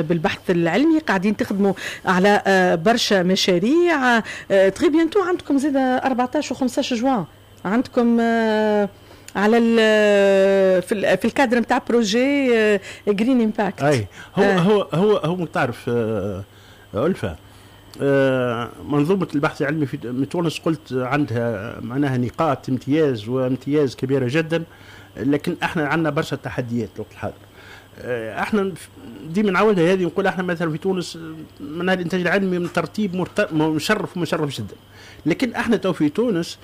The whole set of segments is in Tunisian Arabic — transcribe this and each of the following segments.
بالبحث العلمي، قاعدين تخدموا على برشا مشاريع. très bientôt عندكم زاد 14 و 15 جوان عندكم على في الكادر نتاع projet Green Impact. اي هو هو تعرف ألفة، منظومة البحث العلمي في تونس قلت عندها معناها نقاط امتياز وامتياز كبيرة جدا، لكن احنا عندنا برشا تحديات الوقت الحاضر. احنا ديما نعاودها هذه، نقول احنا مثلا في تونس من الانتاج العلمي من ترتيب مشرف ومشرف جدا، لكن احنا تو في تونس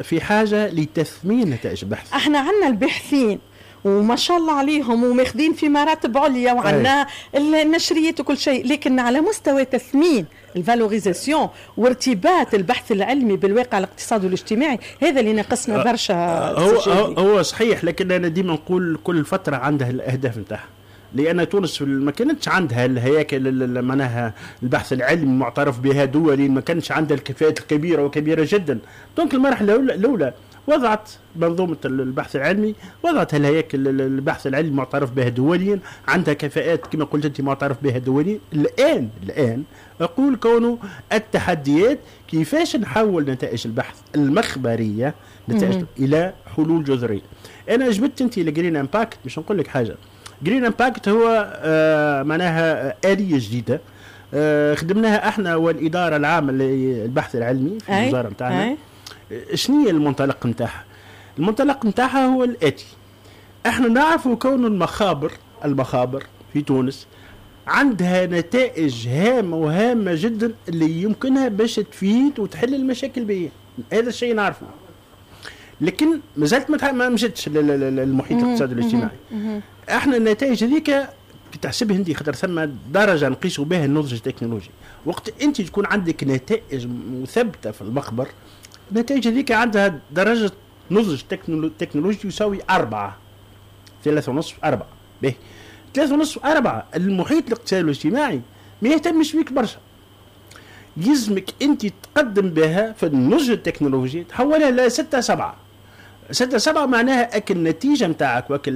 في حاجة لتثمين نتائج البحث. احنا عندنا الباحثين وما شاء الله عليهم وماخذين في مراتب عليا وعندنا النشريات وكل شيء، لكن على مستوى تثمين ال valorisation وارتباط البحث العلمي بالواقع الاقتصادي والاجتماعي، هذا اللي ناقصنا برشا. هو صحيح، لكن انا ديما نقول كل فترة عندها الاهداف نتاعها، لان تونس ما كانتش عندها الهياكل معناها البحث العلمي معترف بها دوليا، ما كانش عندها الكفاءات الكبيرة وكبيره جدا. donc المرحلة الاولى وضعت منظومة البحث العلمي، وضعت الهياكل البحث العلمي معترف بها دوليا، عندها كفاءات كما قلت أنت معترف بها دوليا. الآن أقول كونه التحديات كيفاش نحول نتائج البحث المخبرية نتائج إلى حلول جذرية. أنا جبت أنت ال Green Impact باش نقول لك حاجة. Green Impact هو معناها آلية جديدة خدمناها احنا والإدارة العامة للبحث العلمي في الوزارة نتاعنا. شنو هي المنطلق نتاعها؟ المنطلق نتاعها هو الآتي: احنا نعرفوا كون المخابر في تونس عندها نتائج هامة وهامة جدا اللي يمكنها باش تفيد وتحل المشاكل البيئية، هذا الشيء نعرفه، لكن مازالت ما مشتش للمحيط الاقتصادي والاجتماعي. احنا النتائج هذيك تحسبها انت، خاطر ثم درجه نقيسوا بها النضج التكنولوجي. وقت انت تكون عندك نتائج مثبتة في المخبر، النتائج هذيك عندها درجه نضج تكنولوجي يساوي 4، 3.5 4. به 3.5 4، المحيط الاقتصادي والاجتماعي ما يهتمش بيك برشا، يلزمك انت تقدم بها في النضج التكنولوجي تحولها ل 6 7. 6 7 معناها اك النتيجة نتاعك واك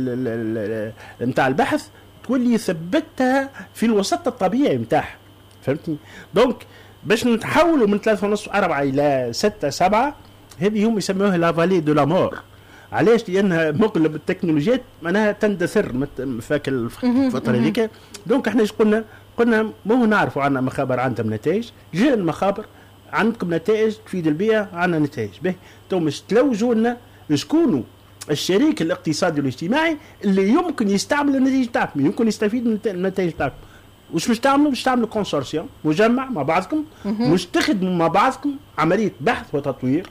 نتاع البحث تولي ثبتها في الوسط الطبيعي نتاعها، فهمتني؟ donc باش نتحولوا من 3.5 4 الى 6 7، هذه هم يسموها la vallée de la mort. علاش؟ لانها مغلب التكنولوجيات معناها تندثر فاك الفترة هذيك. donc احنا ايش قلنا؟ قلنا مو نعرفوا عندنا مخابر عندهم نتائج، جاء المخابر عندكم نتائج تفيد البيئة، عندنا نتائج به، تو مش تلوجوا لنا شكونوا الشريك الاقتصادي والاجتماعي اللي يمكن يستعمل النتائج تاعكم، يمكن يستفيد من النتائج تاعكم. وش مش تعملوا؟ مش تعملوا consortium مجمع مع بعضكم، مش تخدموا مع بعضكم عملية بحث وتطوير،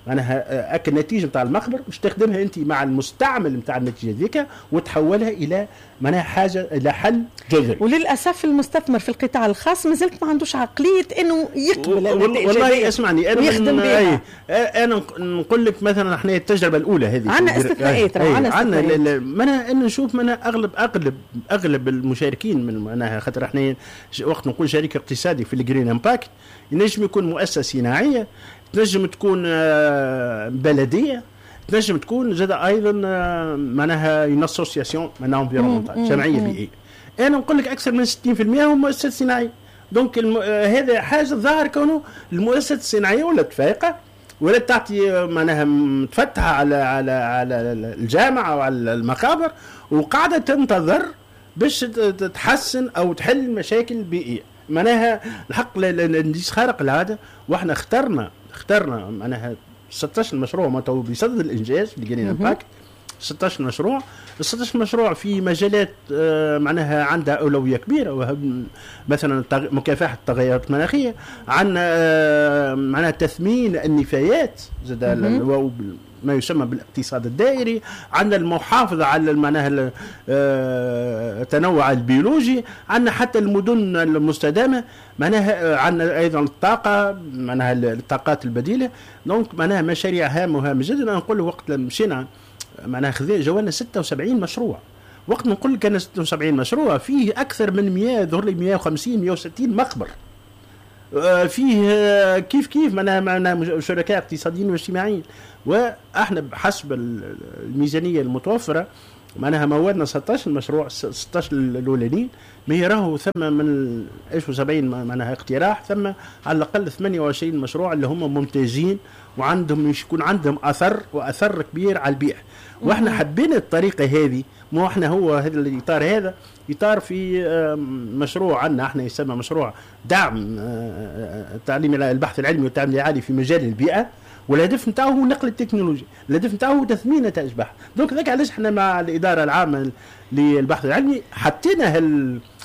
معناها اك النتيجة نتاع المخبر مش تخدمها انت مع المستعمل نتاع النتيجة ذيك وتحولها الى معناها حاجة الى حل جذري. وللاسف المستثمر في القطاع الخاص مازالت ما عندوش عقلية انه يقبل النتائج. والله اسمعني، انا ويخدم بها. انا نقول لك مثلا احنا التجربة الاولى هذه عندنا استثناءات، عندنا معناها ان نشوف معناها اغلب المشاركين من معناها، خاطر احنا وقت نقول شريك اقتصادي في ال Green Impact ينجم يكون مؤسسة صناعية، تنجم تكون بلديه، تنجم تكون زاد ايضا معناها une association معناها environnementale، جمعية بيئية. انا نقول لك اكثر من 60% هم مؤسسات صناعية. donc هذا حاجة ظاهر كونه المؤسسات الصناعية ولات فايقه، ولا تعطي معناها متفتحه على على على الجامعة وعلى المخابر، وقاعدة تنتظر باش تحسن او تحل المشاكل البيئية. معناها الحق نديس خارق العادة، واحنا اخترنا معناها 16 مشروع ما تو بصدد الانجاز في Green Impact، 16 مشروع، 16 مشروع في مجالات معناها عندها اولوية كبيرة، مثلا مكافحة التغيرات المناخية، عندنا معناها تثمين النفايات زاد ما يسمى بالاقتصاد الدائري، عندنا المحافظة على معناها التنوع البيولوجي، عندنا حتى المدن المستدامة، معناها عندنا أيضا الطاقة معناها الطاقات البديلة. donc معناها مشاريع هامة وهامة جدا. أنا نقول وقت مشينا معناها جوانا 76 مشروع، وقت نقول لك أنا 76 مشروع فيه أكثر من 100 ظهر لي 150 160 مخبر، فيه كيف معناها شركاء اقتصاديين واجتماعيين. واحنا بحسب الميزانية المتوفرة معناها مولنا 16 مشروع، 16 الاولانيين، ما راهو ثم من 1070 معناها اقتراح، ثم على الاقل 28 مشروع اللي هم ممتازين وعندهم يكون عندهم اثر، واثر كبير على البيئة. واحنا حبينا الطريقة هذه، مو احنا هو هذا الاطار، هذا اطار في مشروع عندنا احنا يسمى مشروع دعم التعليم البحث العلمي والتعليم العالي في مجال البيئة، والهدف نتاعو هو نقل التكنولوجيا، الهدف نتاعو هو تثمين نتائج البحث. donc ذاك علاش احنا مع الادارة العامة للبحث العلمي حطينا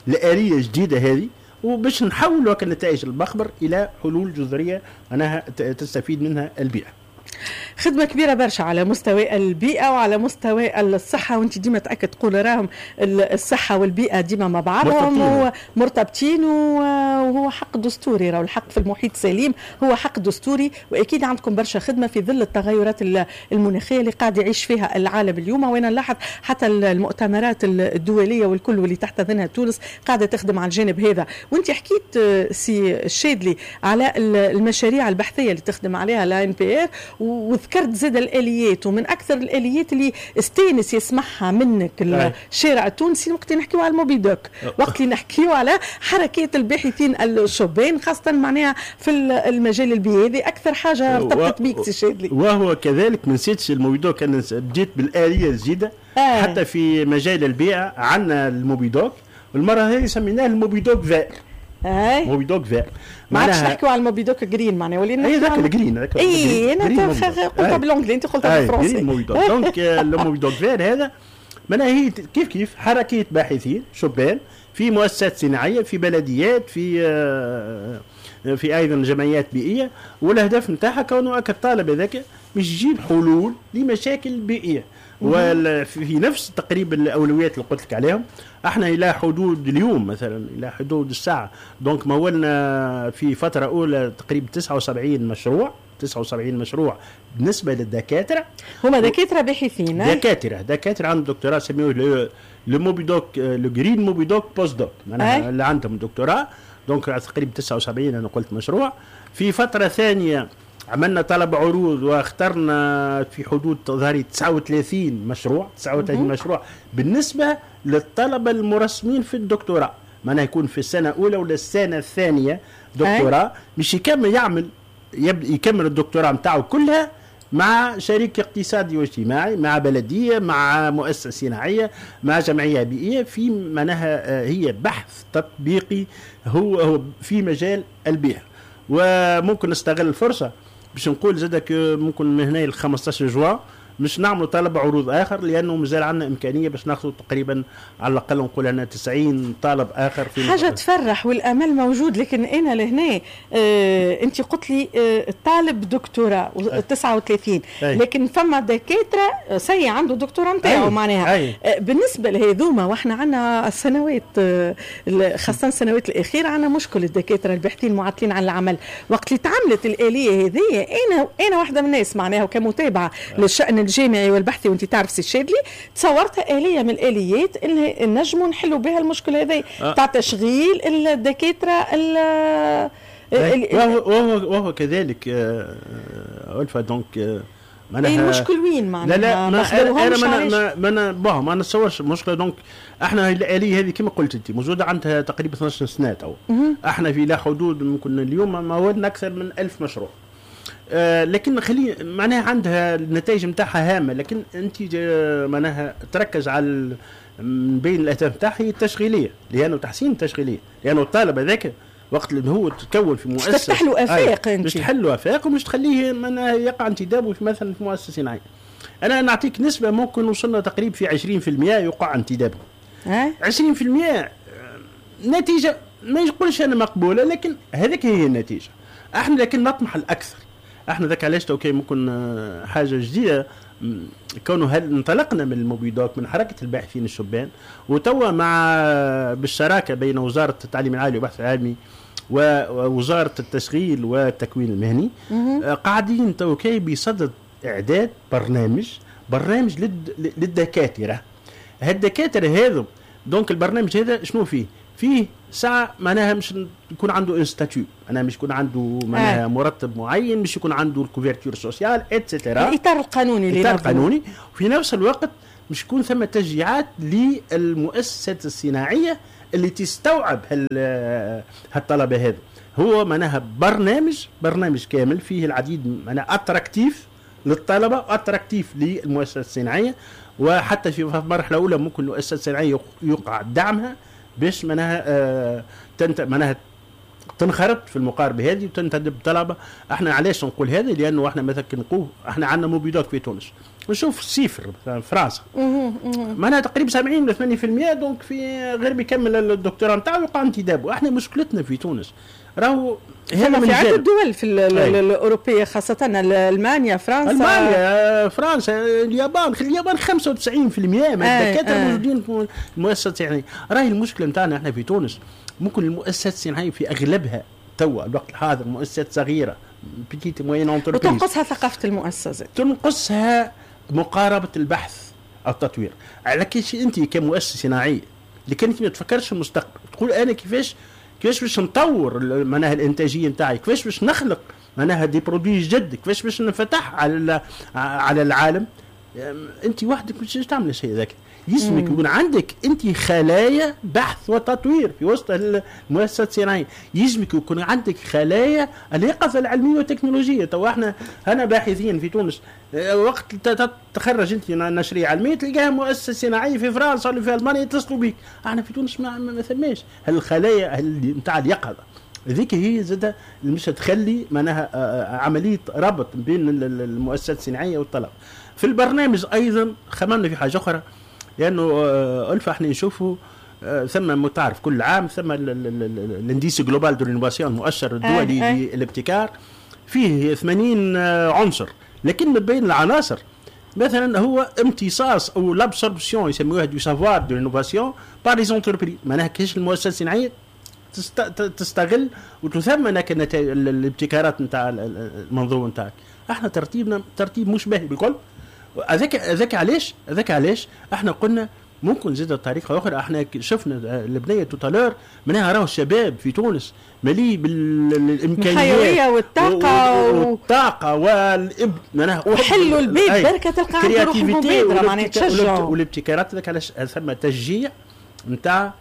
الالية الجديدة هذه، وباش نحولوا نتائج المخبر الى حلول جذرية معناها تستفيد منها البيئة. خدمة كبيرة برشا على مستوى البيئة وعلى مستوى الصحة، وانت ديما تأكد تقول راهم الصحة والبيئة ديما مع بعضهم مرتبطين، وهو حق دستوري، راهو الحق في المحيط السليم هو حق دستوري. وأكيد عندكم برشا خدمة في ظل التغيرات المناخية اللي قاعد يعيش فيها العالم اليوم، وأنا نلاحظ حتى المؤتمرات الدولية والكل واللي تحتضنها تونس قاعدة تخدم على الجانب هذا. وانت حكيت سي الشادلي على المشاريع البحثية اللي تخدم عليها l'ANPR، وذكرت زاد الاليات، ومن اكثر الاليات اللي استانس يسمعها منك الشارع التونسي وقت نحكيو على ال Mobidoc، وقت اللي نحكيو على حركات الباحثين الشبان، خاصة معناها في المجال البيئي. هذه اكثر حاجة ارتبطت بيك سي شادلي. وهو كذلك ما نسيتش ال Mobidoc، انا بديت بالاليه الجديدة حتى في مجال البيئة عندنا ال Mobidoc، والمرة هذه سميناه ال Mobidoc vert. Mobidoc vert، ما عادش نحكيو على ال Mobidoc green، معناها ولينا اي ذاك ال green. اي انا قلتها بال anglais، انت قلتها بالفرنسي. Mobidoc donc ال Mobidoc vert هذا معناها هي كيف كيف حركية باحثين شبان في مؤسسات صناعية، في بلديات، في ايضا جمعيات بيئية، والهدف نتاعها كونه الطالب هذاك مش يجيب حلول لمشاكل بيئية، وفي نفس تقريبا الاولويات اللي قلت لك عليهم. احنا الى حدود اليوم مثلا الى حدود الساعة donc مولنا في فترة اولى تقريبا 79 مشروع، 79 مشروع بالنسبة للدكاتره. هما دكاترة باحثين، دكاترة عندهم دكتوراه، سميوه le Mobidoc le Green Mobidoc postdoc، معناها اللي عندهم دكتوراه. donc تقريبا 79 انا قلت مشروع. في فترة ثانية عملنا طلب عروض واخترنا في حدود ظهري 39 مشروع، 39 مشروع بالنسبة للطلبة المرسمين في الدكتوراه، معناها يكون في السنة الأولى ولا السنة الثانية دكتوراه، مش يكمل يعمل يكمل الدكتوراه نتاعو كلها مع شريك اقتصادي واجتماعي، مع بلدية، مع مؤسسة صناعية، مع جمعية بيئية، في معناها هي بحث تطبيقي هو في مجال البيئة. وممكن نستغل الفرصة باش نقول زادك ممكن من هنا ل 15 جوان مش نعملوا طلب عروض اخر، لانه مازال عندنا امكانية باش ناخذ تقريبا على الاقل نقول انا 90 طالب اخر. في حاجة تفرح والامل موجود. لكن انا لهنا انت قلت لي طالب دكتوراه 39، لكن فما دكاترة سي عنده دكتوراه نتاعو معناها. بالنسبة لهذوما، واحنا عندنا السنوات خاصة السنوات الاخيرة عندنا مشكل الدكاترة الباحثين المعطلين عن العمل. وقت اللي تعملت الالية هذه، انا واحدة من الناس معناها وكمتابعه للشان الجامعي والبحثي، وانت تعرف سي الشادلي، تصورتها آلية من الآليات اللي نجموا نحلوا بها المشكلة هذه تاع تشغيل الدكاترة. وهو كذلك ألفا donc معناها المشكل وين معناها؟ لا لا ما انا ما نتصورش المشكلة. donc احنا الآلية هذه كما قلت انت موجودة عندها تقريبا 12 سنة تو. احنا في لا حدود ممكن اليوم مولنا أكثر من 1000 مشروع. لكن خلي معناها عندها النتائج نتاعها هامة، لكن انت معناها تركز على من بين الاهداف نتاعها هي التشغيلية، لانه تحسين التشغيلية، لانه الطالب هذاك وقت اللي هو تكون في مؤسسة تفتح له افاق، انت مش تحل له افاق ومش تخليه معناها يقع انتدابه في مثلا في مؤسسة صناعية. انا نعطيك نسبه ممكن وصلنا تقريبا في 20% يقع انتدابه. 20% نتيجة ما نقولش انا مقبولة، لكن هذيك هي النتيجة. احنا لكن نطمح الاكثر. احنا ذاك علاش تو ممكن حاجة جديدة كونه هل انطلقنا من ال Mobidoc من حركة الباحثين الشبان، وتوا مع بالشراكة بين وزارة التعليم العالي والبحث العلمي ووزارة التشغيل والتكوين المهني قاعدين تو كي بصدد اعداد برنامج للدكاتره. هالدكاتره هذو donc البرنامج هذا شنو فيه؟ فيه ساعة معناها مش يكون عنده un statut، معناها مش يكون عنده معناها مرتب معين، مش يكون عنده ال couverture sociale et cetera، الاطار القانوني، الاطار القانوني. وفي نفس الوقت مش يكون ثم تشجيعات للمؤسسات الصناعية اللي تستوعب هالطلبه هذا. هو معناها برنامج كامل فيه العديد، معناها attractif للطلبة، attractif للمؤسسات الصناعيه، وحتى في مرحلة اولى ممكن المؤسسات الصناعية يوقع دعمها باش معناها معناها تنخرط في المقاربة هذه وتنتدب طلبه. احنا علاش نقول هذا؟ لانه احنا مثلا نقول احنا عندنا Mobidoc في تونس، نشوف chiffre مثلا فرنسا معناها تقريبا 70 ولا 80% donc في غير بيكمل الدكتوراه نتاعو يقع انتدابه. احنا مشكلتنا في تونس راهو هذا في عدة دول في الأوروبية، خاصة ألمانيا، فرنسا. ألمانيا، فرنسا، اليابان. اليابان 95% من الدكاترة موجودين في المؤسسات الصناعية. راهي المشكلة نتاعنا احنا في تونس ممكن المؤسسات الصناعية في أغلبها توا الوقت الحاضر مؤسسات صغيرة، petites moyennes entreprises، وتنقصها ثقافة المؤسسة، تنقصها مقاربة البحث التطوير. على كيش أنت كمؤسسة صناعية اللي كانت ما تفكرش في المستقبل، تقول أنا كيفاش باش نطور معناها الانتاجية نتاعي، كيفاش باش نخلق معناها des produits جدد، كيفاش باش نفتح على العالم. انت وحدك مش تعمل الشيء ذاك، يلزمك يكون عندك انت خلايا بحث وتطوير في وسط المؤسسات الصناعية، يلزمك يكون عندك خلايا اليقظة العلمية والتكنولوجيه. تو احنا انا باحثين في تونس، وقت تخرج انت نشريه علمية تلقاها مؤسسة صناعية في فرنسا ولا في المانيا يتصلوا بك. احنا في تونس ما ثماش هالخلايا نتاع اليقظة هذيك، هي زادة مش تخلي معناها عملية ربط بين المؤسسات الصناعية والطلب. في البرنامج ايضا خممنا في حاجة اخرى، لانه ألفة احنا نشوفوا ثم تعرف كل عام ثم l'indice global de l'innovation، المؤشر الدولي للابتكار، فيه 80 عنصر، لكن من بين العناصر مثلا هو امتصاص او l'absorption يسموها du savoir de l'innovation par les entreprises، معناها كيفاش المؤسسات الصناعية تستغل وتثمن الابتكارات نتاع المنظومة نتاعك. احنا ترتيبنا ترتيب مش باهي بالكل. هذاك علاش احنا قلنا ممكن زاد طريقه اخرى. احنا شفنا البنية tout à l'heure معناها راهو الشباب في تونس مليء بالامكانيات، الحيوية والطاقة والطاقة والاب معناها وحلوا البيت بركة تلقى عنده روح المبادرة، معناها تشجعوا والابتكارات. هذاك علاش ثم تشجيع نتاع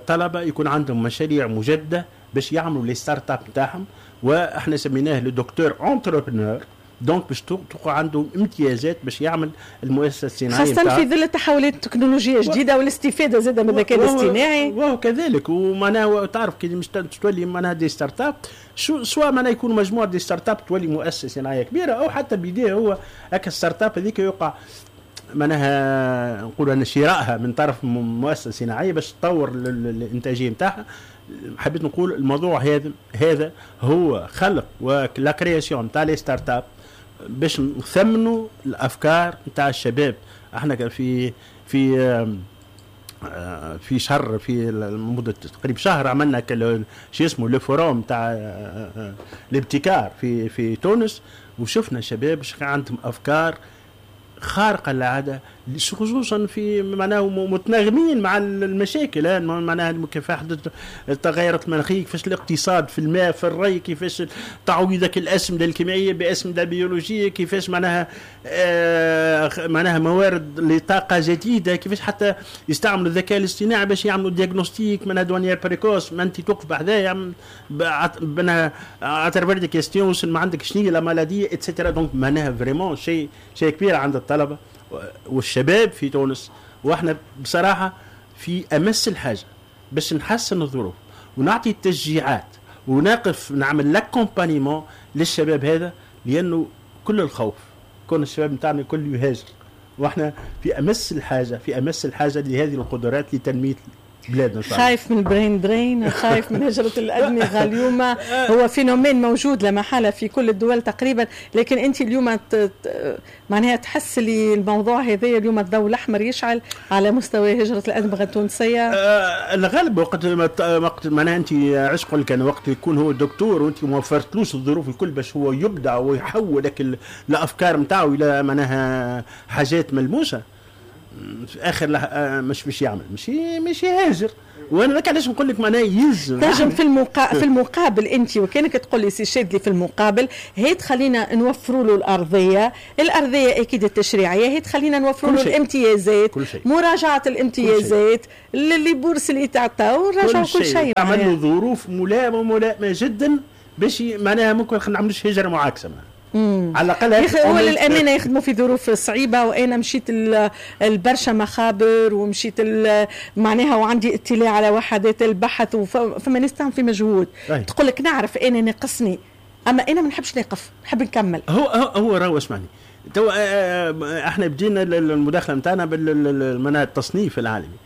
طلبه يكون عندهم مشاريع مجدده باش يعملوا les startups نتاعهم، واحنا سميناه le docteur entrepreneur، donc باش تبقى عنده امتيازات باش يعمل المؤسسة الصناعية، خاصة في ظل التحولات التكنولوجية الجديدة والاستفادة زاده من الذكاء الاصطناعي. وهو كذلك، ومعناها تعرف كي مش تولي معناها des startups، سواء معناها يكون مجموعة des startups تولي مؤسسة صناعية كبيرة، او حتى بيديه هو هكا startup هذيك يوقع معناها نقول ان شرائها من طرف مؤسسة صناعية باش تطور الانتاجية نتاعها. حبيت نقول الموضوع هذا هو خلق و la création تاع les startups باش نثمنوا الافكار نتاع الشباب. احنا في في في شهر، في مدة تقريبا شهر، عملنا شيء اسمه le forum تاع الابتكار في تونس، وشفنا شباب عندهم افكار خارقة للعاده، خصوصا في معناه متناغمين مع المشاكل، معناها المكافحه التغيرات المناخيه، كيفاش الاقتصاد في الماء في الري، كيفاش تعويضك الاسمده الكيميائية باسمده بيولوجية، كيفاش معناها موارد لطاقة جديده، كيفاش حتى يستعملوا الذكاء الاصطناعي باش يعملوا diagnostic معناها de manière précoce. ما انت توقف بحذايا معناها à travers des questions ما عندك شنو la maladie et cetera. donc معناها vraiment شيء كبير عند الطلبة والشباب في تونس. واحنا بصراحة في امس الحاجة باش نحسن الظروف ونعطي التشجيعات ونقف نعمل l'accompagnement للشباب هذا، لانه كل الخوف كون الشباب نتاعنا الكل يهاجر، واحنا في امس الحاجه لهذه القدرات لتنميه بلادنا. خايف من ال brain drain، خايف من هجرة الأدمغة. اليوم هو phénomène موجود لا محالة في كل الدول تقريبا، لكن أنت اليوم معناها تحس اللي الموضوع هذا اليوم الضوء الأحمر يشعل على مستوى هجرة الأدمغة التونسية؟ الغالب وقت معناها أنت عشق كان وقت يكون هو دكتور وأنت ما وفرتلوش الظروف الكل باش هو يبدع ويحول لك الأفكار نتاعو إلى معناها حاجات ملموسة. في اخر مش باش يعمل، مش يهاجر. وانا ذاك علاش نقول لك معناها يلزم تنجم في المقابل انت وكانك تقول لي سي شادلي في المقابل هي تخلينا نوفروا له الارضيه اكيد التشريعية، هي تخلينا نوفروا له الامتيازات، مراجعه الامتيازات اللي bourses اللي تعطاو، نراجعوا كل شيء، عمل له ظروف ملائمه جدا باش معناها ممكن ما نعملوش هجره معاكسة على الاقل. هو للامانة يخدموا في ظروف صعيبة، وانا مشيت البرشا مخابر ومشيت معناها وعندي اطلاع على وحدات البحث، وفما ناس تعمل في مجهود. تقول لك نعرف انا ناقصني، اما انا ما نحبش نقف، نحب نكمل. هو راهو اسمعني تو، احنا بدينا المداخلة نتاعنا بالمنهج التصنيف العالمي.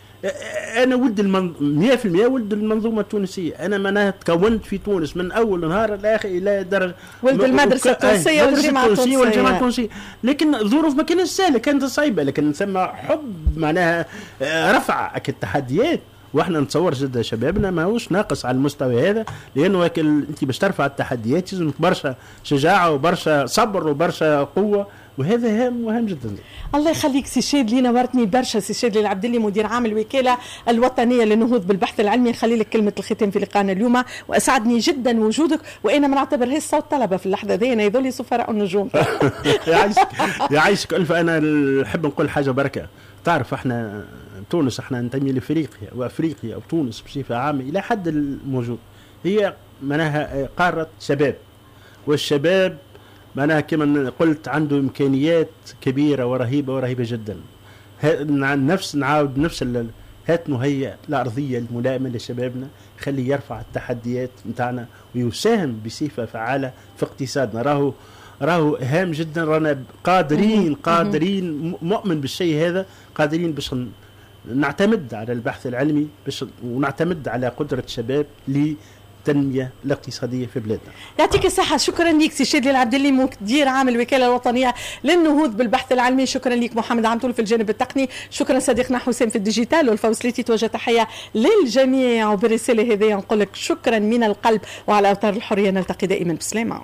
انا ولد 100% ولد المنظومة التونسية، انا معناها تكونت في تونس من اول نهار لاخر الى درجه ولد المدرسة التونسية والجامعة التونسية، لكن الظروف ما كانتش سهلة، كانت صعيبة، لكن ثم حب معناها رفع التحديات. واحنا نتصور جدا شبابنا ماهوش ناقص على المستوى هذا، لانه انت باش ترفع التحديات لازمك برشا شجاعة وبرشا صبر وبرشا قوة، وهذا هام وهام جدا. الله يخليك سي شادلي، نورتني برشا سي شادلي العبدلي مدير عام الوكالة الوطنية للنهوض بالبحث العلمي. نخلي لك كلمة الختام في لقائنا اليوم، واسعدني جدا وجودك، وانا ما نعتبرهاش صوت طلبه في اللحظة ذي، انا يظل سفراء النجوم. يعيشك يعيشك الف. انا نحب نقول حاجة بركة، تعرف احنا تونس احنا ننتمي لافريقيا، وافريقيا وتونس بصفة عامة الى حد الموجود هي معناها قارة شباب، والشباب معناها كما قلت عنده امكانيات كبيرة ورهيبه ورهيبه جدا. نفس نعاود نفس هات نهيئ الارضية الملائمة لشبابنا، خليه يرفع التحديات نتاعنا ويساهم بصفة فعاله في اقتصادنا. راهو هام جدا، رانا قادرين مؤمن بالشيء هذا، قادرين باش نعتمد على البحث العلمي باش ونعتمد على قدرة الشباب للتنمية الاقتصادية في بلادنا. يعطيك الصحة، شكرا لك سي شادلي العبدلي مدير عام الوكالة الوطنية للنهوض بالبحث العلمي، شكرا لك محمد عمتول في الجانب التقني، شكرا صديقنا حسام في ال digital والفوسليتي. توجه تحية للجميع، وبالرسالة هذه نقول لك شكرا من القلب، وعلى أوتار الحرية نلتقي دائما. بسلامة.